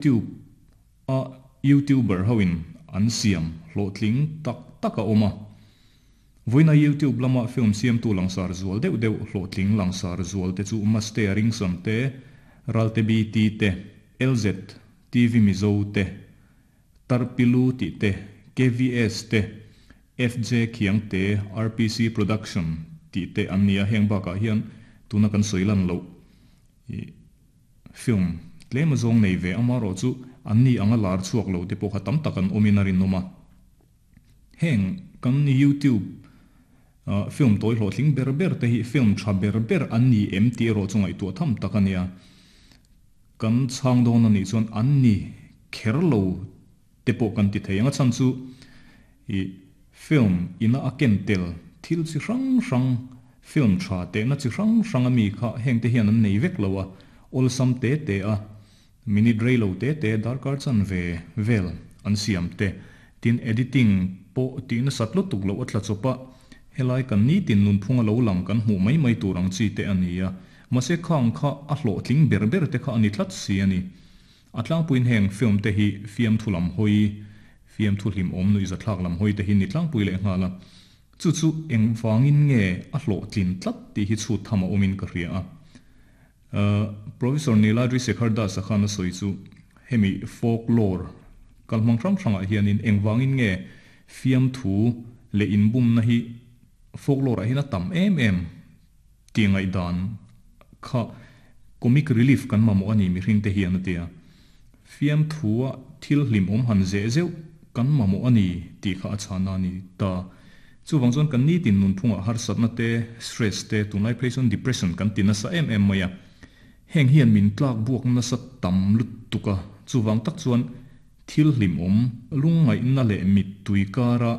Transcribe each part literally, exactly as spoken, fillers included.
Tube a YouTuber hoin an siam hlawhtling tak tak a awm a. Vawiina YouTube lama film siamtu langsar zual deuh deuh hlawhtling langsar zual te chu Mastea Ringson te, Ralte B T te, L Z T V Mizo te, Tarpilu tih te, K V S te, F J Khiang te, R P C Production tih te an ni a. Heng bakah hian tuna kan sawi lan loh film tlem zawng nei ve ama rawh chu an ni anga lar chhuak lo te pawh kha tam tak an awmin a rinawm a. Heng kan YouTube film tawi hlawhtling ber ber te hi film tha ber ber an ni em tih erawh chu ngaihtuah tham tak a nia. Kan chhang dawn a nih chuan an ni kher lo te pawh kan ti thei ang a chhan chu i film ina a ken tel thil chi hrang hrang film tha te na chi hrang hrang ami kha heng te hian an nei vek lo a awlsam te te a minute rei lo te te darkar chan ve vel an siam te tin editing pawh tihna sat lutuk lo a tla chawpa helai kan ni tin nun phunga lo lang kan hmuh mai mai tur ang chi te ani a mahse khang kha a hlawhtling ber ber te kha ani tlat si ani a tlangpuiin heng film te hi fiam thu lam hawi fiam thu hlim awm nui zathlak lam hawi te hi ni tlangpui leh nghala chu chu eng wangin nge a hlawhtlin tlat tih hi chhut tham a awmin ka hria a. Professor Niladri Sekhar Das a khan a sawi chu hemi folklore kalhmang hrang hrangah hianin eng wangin nge fiam thu leh inbumna hi folklore ah hian a tam em em ti ngaih dan kha comic relief kan mamawh ani mihring te hian a tia. Fiam thu a thil hlim awm han zeh zeuh kan mamawh ani tih kha a chhana ani ta. Chuwang chuan kan ni tin nun phunga harsatna te stress te tunlai phei chuan depression kan ti nasa em em mai a. Heng hian min tlak buak nasa tam lutuk a chuwang tak chuan thil hlim awm lungngaihna leh mit tui kara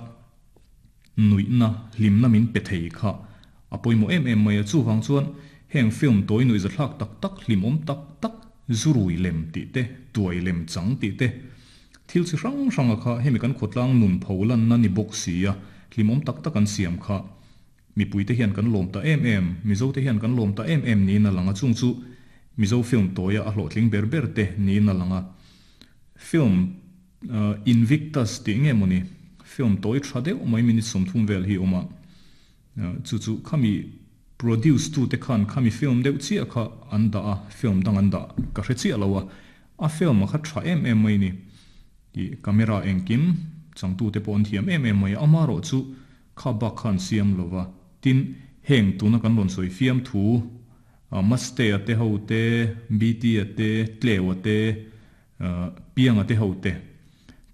nuihna hlimna min pe thei kha a pawimawh em em mai a. Chuwang chuan heng film tawi nui zathlak tak tak hlim awm tak tak zurui lem tih te tuai lem chang tih te thil chi hrang hrang a kha hemi kan khawtlang nun pholan na ni bawk si a hlim awm tak tak an siam kha mipui te hian kan lawm ta em em Mizo te hian kan lawm ta em em niin a lang a. Chung chu Mizo film tawia a hlawhtling ber ber te niin a lang a. Film Invictus tih nge mawni film tawi tha deuh mai minute sawmthum vel hi awm a chu chu khami produce tu te khan khami film deuh chiah kha an dah a film dang an dah ka hre chiah lo a a film a kha tha em em mai ni i camera engkim changtu te pawh an thiam em em mai ama rawh chu kha bak khan siam lova. Tin heng tuna kan rawn sawi fiam thu Mastea te ho te B T a te Tlewa te Pianga te ho te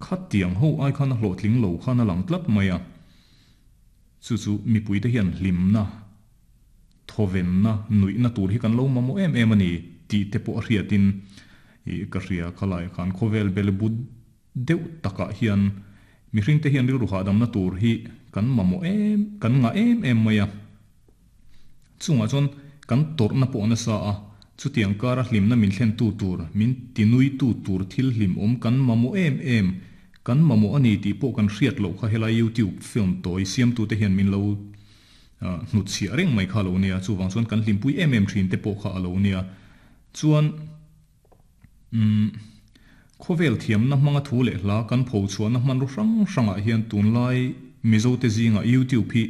kha tiang ho ai khan a hlawhtling lo khan a lang tlat mai a. Chu chu mipui te hian hlimna thovenna nuihna tur hi kan lo mamawh em em ani tih te pawh a hriatin i ka hria khalai khan khawvel bel but deuh takah hian mihring te hian rilru hahdamna tur hi kan mamawh em kan ngah em em mai a. Chungah chuan kan tawrhna pawh nasa a chutiang kara hlimna min thlen tu tur min tinui tu tur thil hlim awm kan mamawh em em kan mamawh ani tih pawh kan hriat loh kha helai YouTube film tawi siamtu te hian min lo hnut chhiah reng mai kha lo nia. Chuwang chuan kan hlimpui em em thin te pawh kha a lo nia. Chuan um khawvel thiamna hmanga thu leh hla kan pho chhuahna hman ru hrang hrangah hian tunlai Mizo te zinga YouTube hi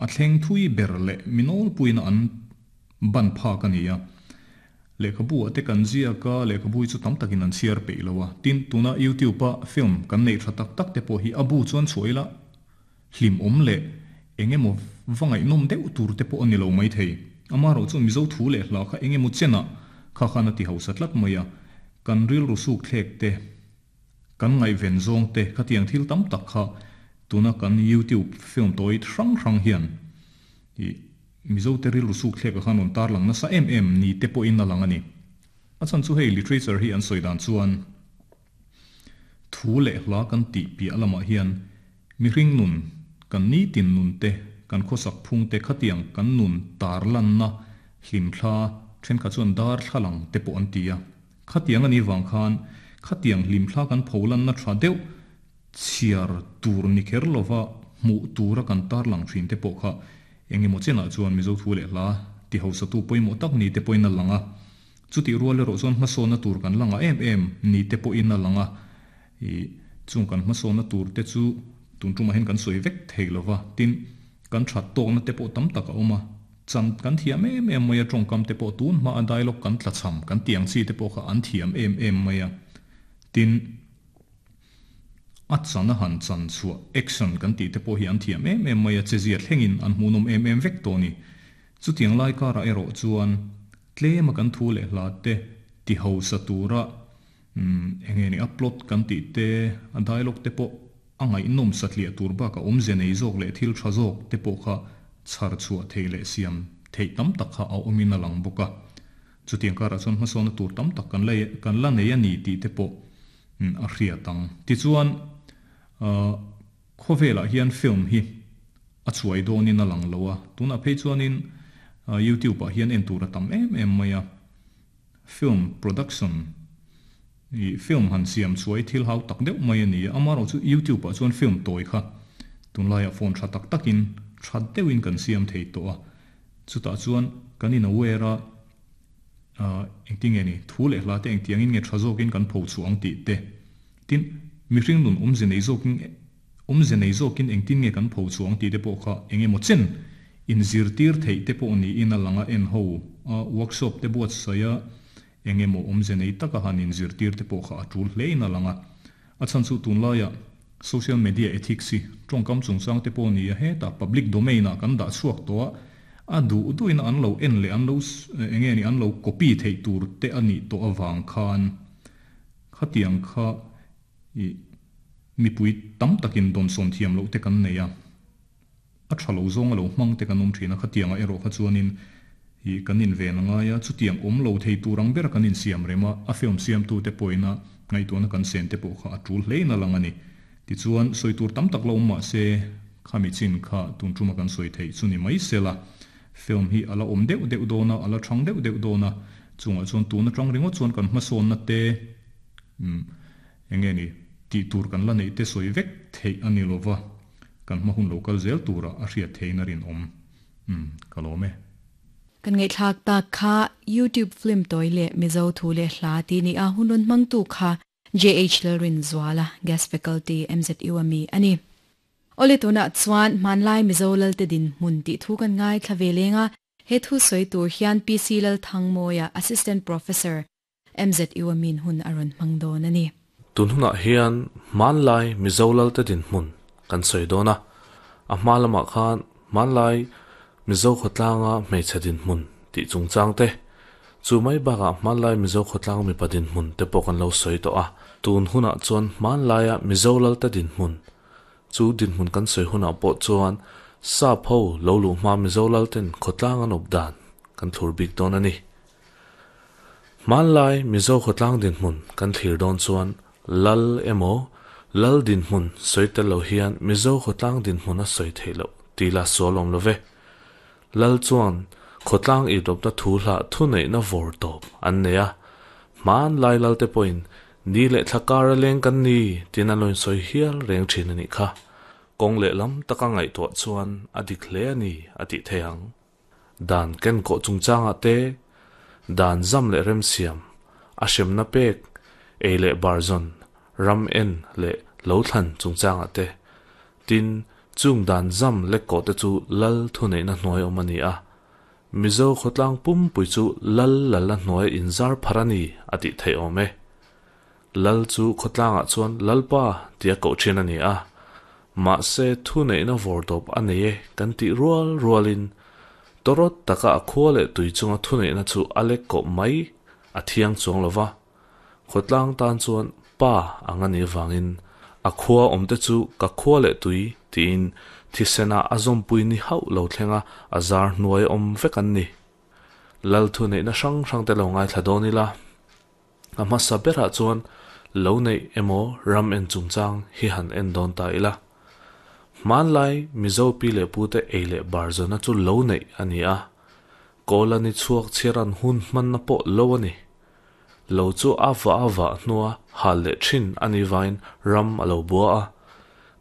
a thleng thui ber leh minawl puina an ban phak ani a. Lehkhabu a te kan ziaka lehkhabu hi chu tam takin an chhiar peih lo a. Tin tuna YouTube a film kan nei tha tak tak te pawh hi a bu chuan chhuah hlim awm leh engemaw vangaih nawm deuh tur te pawh ani lo mai thei. Ama rawh chu Mizo thu leh hla kha engemaw chena kha khan a ti hausa tlat mai a. Kan ril ru suk thlek te kan ngaih ven zawng te khatiang thil tam tak kha tuna kan YouTube film tawi hrang hrang hian i Mizo te ril ru suk thlek a khan rawn tar lang nasa em em ni te pawhin a lang ani. A chan chu hei literature hi an sawi dan chuan thu leh hla kan tih piah lamah hian mihring nun kan ni tin nun te kan khawsak phung te khatiang kan nun tar lanna hlim thla then kha chuan dar thlalang te pawh an ti a. Khatiang ani wang khan khatiang hlim thla kan pholan na tha deuh chhiar tur ni kher lova hmuh tura kan tar lang thin te pawh kha engemaw chenah chuan Mizo thu leh hla ti hausa tu pawimawh tak ni te pawhin a lang a. Chutih rual erawh chuan hmasawnna tur kan la ngah em em ni te pawhin a lang a, ih chung kan hmasawnna tur te chu tun tumah hian kan sawi vek thei lo va, tin kan that tawkna te pawh tam tak a awm a, chan kan thiam em em mai a, tawngkam te pawh tun hma a dialogue kan tlachham kan tih ang chi te pawh kha an thiam em em mai a, tin a chan a han chan chhuah action kan tih te pawh hi an thiam em em mai a, chezia thlengin an hmuhnawm em em vek tawh a ni. Chutiang lai karah erawh chuan tlema kan thu leh hla te ti hausa tura eng nge ni a plot kan tih te, a dialogue te pawh a ngaihnawm satliah tur bakah awmze nei zawk leh thil tha zawk te pawh kha chhar chhuah theih leh siam theih tam tak kha a awmin a lang bawk a. Chutiang karah chuan hmasawnna tur tam tak kan la kan la nei a ni tih te pawh a hriat ang. Tichuan khawvelah hian film hi a chhuai dawnin a lang lo a, tunah phei chuanin YouTube ah hian en tur a tam em em mai a, film production ih film han siam chhuai thil hau tak deuh mai a ni a, amaherawh chu YouTube ah chuan film tawi kha tunlaiah phone tha tak takin tha deuhin kan siam thei tawh a, chutah chuan kan in aware a engtin nge ni thu leh hla te engtiangin nge tha zawkin kan pho chhuah ang tih te, tin mihring nun awmze nei zawkin awmze nei zawkin engtin nge kan pho chhuah ang tih te pawh kha eng emaw chen inzirtir theih te pawh niin a lang a, en ho a workshop te buatsaih a eng emaw awmze nei taka han inzirtir te pawh kha a tul hlein a lang a, a chhan chu tunlaiah social media ethics hi tawngkam chungchang te pawh ni a, hetah public domain ah kan dah chhuak tawh a, a duh duhin an lo en leh an lo eng nge ni an lo copy theih tur te a nih tawh avang khan khatiang kha ih mipui tam takin dawnsawn thiam loh te kan nei a, a tha lo zawng a lo hmang te kan awm thin a, khatiangah erawh kha chuanin ih kan inven a ngai a, chutiang awm lo thei tur ang bera kan insiam rem a, a film siamtu te pawhin a ngaihtuahna kan sen te pawh kha a tul hlein a lang a ni. Tichuan sawi tur tam tak lo awm mah se khami chin kha tun tuma kan sawi theih chu ni mai sela, film hi a la awm deuh deuh dawn a, a la thang deuh deuh dawn a, chungah chuan tun atang ringawt chuan kan hmasawnna te umm eng nge ni tih tur kan la neih te sawi vek theih a ni lova, kan hma hun lo kal zel tura a hriat theiin a rinawm. Umm ka lawm e. Kan ngaihthlak tak kha YouTube film tawi leh Mizo thu leh hla tih ni a, hun rawn hmangtu kha J H Lalrinzuala, Guest Faculty, M Z U a mi a ni. Awle tunah chuan hmanlai Mizo Lalte dinhmun tih thu kan ngaithla ve leng a, he thu sawi tur hian P C Lalthangmawia, Assistant Professor, M Z U a min hun a rawn hmang dawn a ni. Tun hunah hian hmanlai Mizo Lalte dinhmun kan sawi dawn a, a hma lamah khan hmanlai Mizo khawtlanga hmeichhe dinhmun tih chungchang te, chu mai bakah hmanlai Mizo khawtlang mipa dinhmun te pawh kan lo sawi tawh a, tun hunah chuan hmanlaia Mizo Lalte dinhmun chu dinhmun kan sawi hunah pawh chuan sap ho lo luh hma Mizo Lalten khawtlang an awp dan kan thlur bik dawn a ni. Hmanlai Mizo khawtlang dinhmun kan thlir dawn chuan Lal emaw Lal dinhmun sawi tel lo hian Mizo khawtlang dinhmun a sawi theih loh tih la sual awm lo ve. Lal chuan khawtlang ihdawpna thu hlah thuneihna vawr tawp an nei a, hmanlai Lalte pawhin ni leh thla kar a leng kan ni tiin an lo insawi hial reng thin a nih kha. Kawng lehlam taka ngaihtuah chuan a dik hle a ni a tih theih ang. Dan kenkawh chungchangah te, dan zam leh remsiam, a hremna pek, ei leh bar zawn, ram en leh lo thlan chungchangah te, tin, chung dan zam lekkawh te chu lal thuneihna hnuai awm a ni a. Mizo khawtlang pumpui chu lal lal a hnuai inzar phar a ni a tih theih awm e. Lal chu khawtlangah chuan Lalpa tia koh thin a ni a, mahse thuneihna vawr tawp a nei e kan tih rual rualin tawrawt taka a khua leh tui chunga thuneihna chu a lek kawh mai a thiang chuang lo va, khawtlang tan chuan pa ang a nih avangin a khua awmte chu ka khua leh tui tiin thisena a zawmpui ni hauh lo thlenga a zar hnuai awm vek an ni. Lal thuneihna hrang hrang te lo ngaithla dawn ila, a hmasa berah chuan lo neih emaw ram en chungchang hi han en dawn ta ila. Hmanlai Mizo pi leh pute ei leh bar zawna chu lo neih a ni a, kawl a ni chhuak chhiar an hun hmanna pawh lo a ni. Lo chu a vah a vah hnua hal leh thin a nih vangin ram a lo bua a,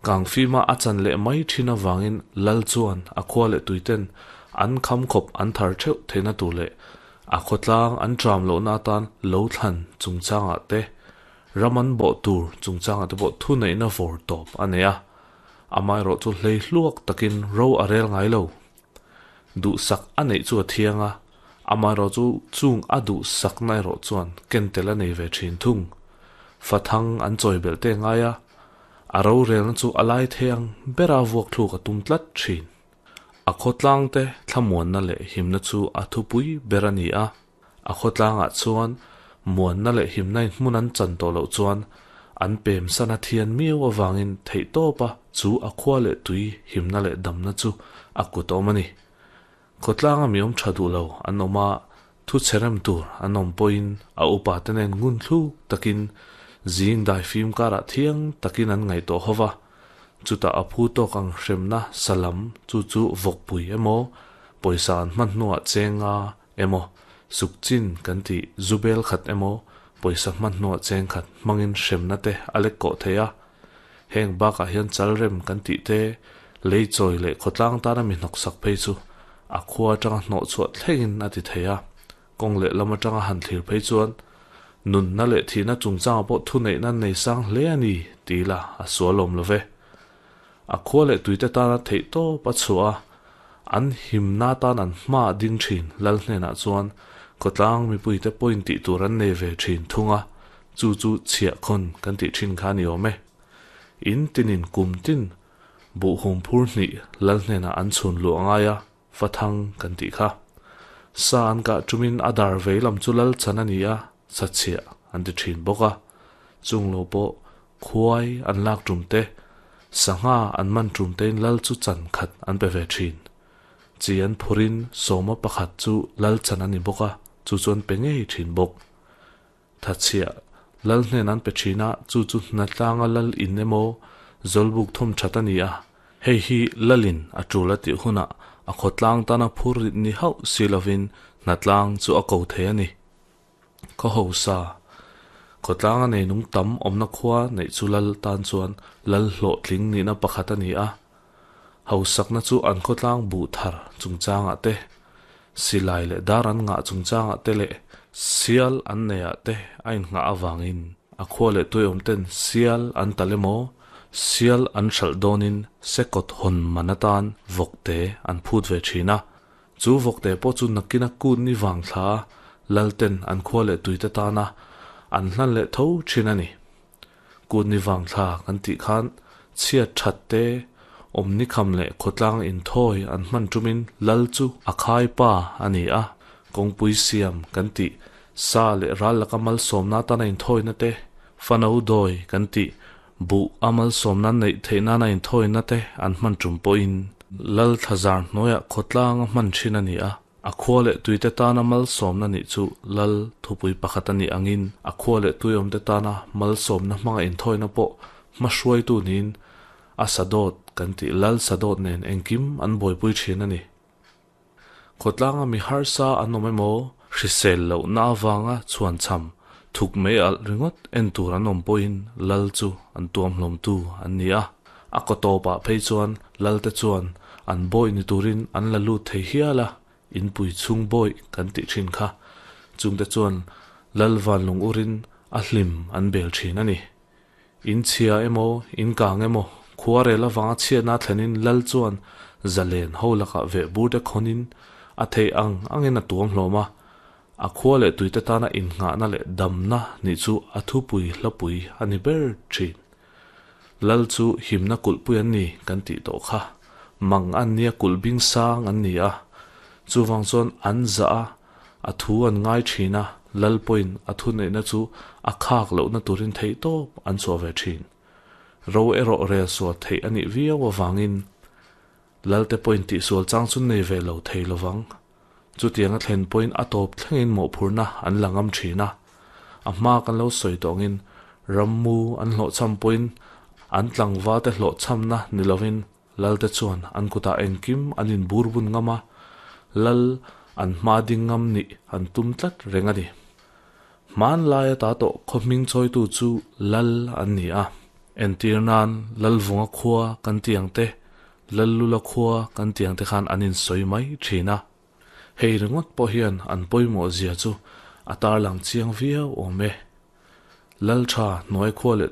kangfima a chan leh mai thin avangin lal chuan a khua leh tuiten an kham khawp an thar theuh theihna tur leh A khawtlang an tram lo na tan lo thlan chungchanga te raman bo tur chungchanga te pawh thu neihna vawr tawp a nei a amai ro chu hlei hluak takin ro a rel ngai lo du sak a neih chu a thianga amai ro chu chung a du sak nai ro chuan kentel a nei ve thin thung fathang an chawi bel te ngai a a ro rel na chu a lai theiang bera vuak thluk a tum tlat thin a khawtlang te thlamuan na leh himna chu a thupui ber a ni a a khawtlangah chuan muan na leh himna in hmun an chan tawh loh chuan an pem sana thian miau awangin theih tawpa chu a khua leh tui himna leh damna chu a kut awm a ni khawtlanga mi awm tha duh lo an awm a thu cherem tur an awm pawhin a upa te nen ngun thluk takin zing dai fim karah thiang takin an ngaih tawh hova chuta a phu tawk ang hremna salam chu chu vawkpui emaw pawisa an hman hnuah chenga emaw sukchin kan ti zubel khat emaw pawisa hman hnuah cheng khat hmangin hremna te a lek kawh thei a heng bakah hian chalrem kan tih te lei chawi leh khawtlang tana mi hnawk sak phei chu a khua atanga hnawh chhuah thlengin a ti thei a kawng leh lam atanga han thlir phei chuan nun na leh thihna chungchanga pawh thu neihna nei sang hle a ni ti la a sual awm lo ve a khua leh tuite tana theih tawp a chhuah a an himna tan an hma ding thin lal hnenah chuan khawtlang mipuite pawhin tih tur an nei ve thin thunga chu chu chhiah khawn kan tih thin kha ni awm e in tinin kum tin buh hum phur hnih lal hnenah an chhun luh angai a fathang kan tih kha sa an kah tumin a dar vei lam chu lal chan a ni a sa chhiah an ti thin bawk a chung lo pawh khuai an lak tum te sangha an man tum tein lal chu chan khat an pe ve thin chi an phurin sawma pakhat chu lal chan a ni bawk a chu chuan pe ngei thin bawk thachhiah lal hnen an pe thina chu chu hnatlanga lal in emaw zawlbuk thawm that a ni a hei hi lalin a tul a tih hunah a khawtlang tana phur rit ni hauh si lovin hnatlang chu a ko thei a ni khaw ho sa khawtlanga nei nung tam awmna khua neih chu lal tan chuan lal hlawh tling nihna pakhat a ni a hausakna chu an khawtlang buh thar chungchangah te silai leh dar an ngah chungchangah te leh sial an neiah te a innghah awangin a khua leh tui awm ten sial an tal emaw sial an hralh dawnin sekawt hawn man atan vawk te an phut ve thin a chu vawk te pawh chu nakina kut ni vang thla lal ten an khua leh tuite tana an hlan leh tho thin a ni kut ni vang thla kan tih khan chhiat that te awm ni kham leh khawtlang in thawi an hman tumin lal chu a khai pa a ni a kawngpui siam kan tih sa leh ral laka malsawmna tana in thawina te fano dawi kan tih buh a malsawmna neih theihna na in thawina te an hman tum pawhin lal thlazar hnuaiah khawtlang a hman thin a ni a a khua leh tuite tana malsawmna nih chu lal thupui pakhat a ni angin a khua leh tui awm te tana malsawmna hmanga in thawina pawh hma hruaitu niin a sadawt kan tih lal sadawt nen engkim an buaipui thin a ni khawtlanga mi harsa an awm emaw hrisel loh na awanga chhuan cham thuk mai alh ringawt en tur an awm pawhin lal chu an tuam hlawm tu an ni a a kawtawpah phei chuan lal te chuan an bawi ni turin an la lut thei hial a inpui chhung bawi kan tih thin kha chungte chuan lal van lung urin a hlim an bel thin a ni in chhia emaw in kang emaw khua rel awanga chhiatna thlenin lal chuan zalen ho lakah veh bur te khawnin a thei ang angin a tuam hlawm a a khua leh tuite tana innghahna leh damna nih chu a thupui hlapui a ni ber thin lal chu himna kulhpui an ni kan tih tawh kha mang an nia kulh bing sang an ni a chuwang chuan an za a a thu an ngai thin a lal pawhin a thu neihna chu a khak lohna turin theih tawp an chhuah ve thin ro erawh rel sual theih a nih viau awangin lal te pawhin tih sual chang chu nei ve lo thei lovang chutiang a thlen pawhin a tawp thlengin mawhphurna an la ngam thin a a hma kan lo sawi tawngin rammu an hlawh cham pawhin an tlangva te hlawh chamna ni lovin lal te chuan an kutah engkim an in bur bun ngam a lal an hma ding ngam ni an tum tlat reng a ni hman laia ta tawh khaw hming chawitu chu lal an ni a entir nan lal vunga khua kan tiang te lal lula khua kan tiang te khan an in sawi mai thin a Hei ringawt pawh hian an pawimawh zia chu a tarlang chiang viau awm e. Lal tha hnuai khua leh